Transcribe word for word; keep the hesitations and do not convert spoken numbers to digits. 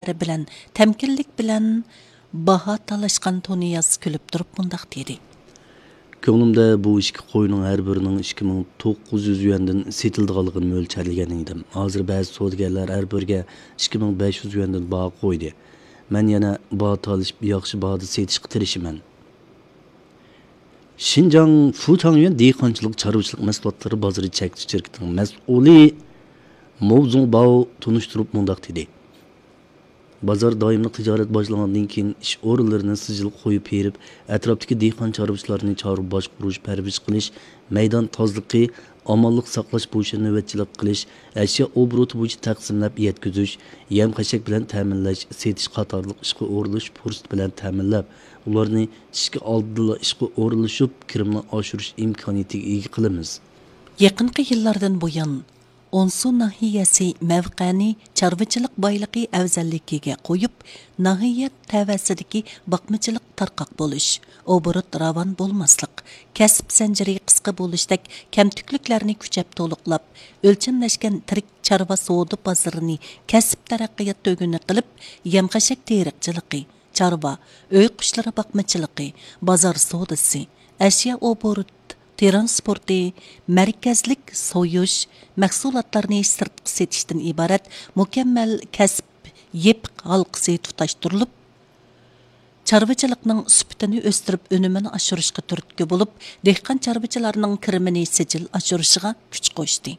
بىلەن تەمكىنلىك بىلەن باھا تالاشقان تۇنىياز كۈلۈپ تۇرۇپ مۇنداق دېدى. كۆڭلۈمدە بۇ ئىككى قوينىڭ ھەر بىرىنىڭ ئىككى مىڭ توققۇز يۈز يۈەندىن سېتىلىدىغانلىقىنى مۆلچەرلىگەن ئىدىم. ھازىر بەزى سودىگەرلەر ھەر بىرىگە ئىككى مىڭ بەش يۈز يۈەندىن باھا قويدى. مەن يەنە باھا تالىشىپ، ياخشى باھادا سېتىشقا تىرىشىمەن. شىنجاڭ فۇتاڭيۈەن دېھقانچىلىق چارۋىچىلىق مەھسۇلاتلىرى بازىرى چەكلىك شىركىتىنىڭ مەسئۇلى مو زۇڭباۋ تونۇشتۇرۇپ مۇنداق دېدى. بازار دائىملىق تىجارەت باشلانغاندىن كېيىن ئىش ئورۇنلىرىنى سىجىل قويۇپ بېرىپ، ئەتراپتىكى دېھقان چارۋىچىلارنى چارۋا باشقۇرۇش، پەرۋىش قىلىش، مەيدان تازىلىقى، ئامانلىق ساقلاش بويىچە نۆۋەتچىلىك قىلىش، ئەشيا ئوبوروتى بويىچە تەقسىملەپ يەتكۈزۈش، يەم خەشەك بىلەن تەمىنلەش، سېتىش قاتارلىق ئىشقا ئورۇنلىشىش پۇرسىتى بىلەن تەمىنلەپ، ئۇلارنى ئىشكە ئالدىنلا ئىشقا ئورۇنلىشىپ، كىرىمنى ئاشۇرۇش ئىمكانىيىتىگە ئىگە قىلىمىز. يېقىنقى يىللاردىن بۇيان، ئونسۇ ناھىيەسى مەۋقەنى چارۋىچىلىق بايلىقى ئەۋزەللىكىگە قويۇپ، ناھىيە تەۋەسىدىكى باقمىچىلىق تارقاق بولۇش، ئوبوروت راۋان بولماسلىق، كەسىپ زەنجىرى قىسقا بولۇشتەك كەمتۈكلۈكلەرنى كۈچەپ تولۇقلاپ، ئۆلچەملەشكەن تىرىك چارۋا سودا بازىرىنى كەسىپ تەرەققىيات تۈگۈنى قىلىپ، يەم خەشەك تېرىقچىلىقى، چارۋا، ئۆي قۇشلىرى باقمىچىلىقى، بازار سودىسى، ئەشيا ئوبوروت تىرانسپورتى، مەركەزلىك سويۇش، مەھسۇلاتلارنى سىرتقا سېتىشتىن ئىبارەت مۇكەممەل كەسىپ يېپىق ھالقىسى تۇتاشتۇرۇلۇپ، چارۋىچىلىقنىڭ سۈپىتىنى ئۆستۈرۈپ، ئۈنۈمىنى ئاشۇرۇشقا تۈرتكە بولۇپ، دېھقان چارۋىچىلارنىڭ كىرىمىنى سىجىل ئاشۇرۇشىغا كۈچ قوشتى.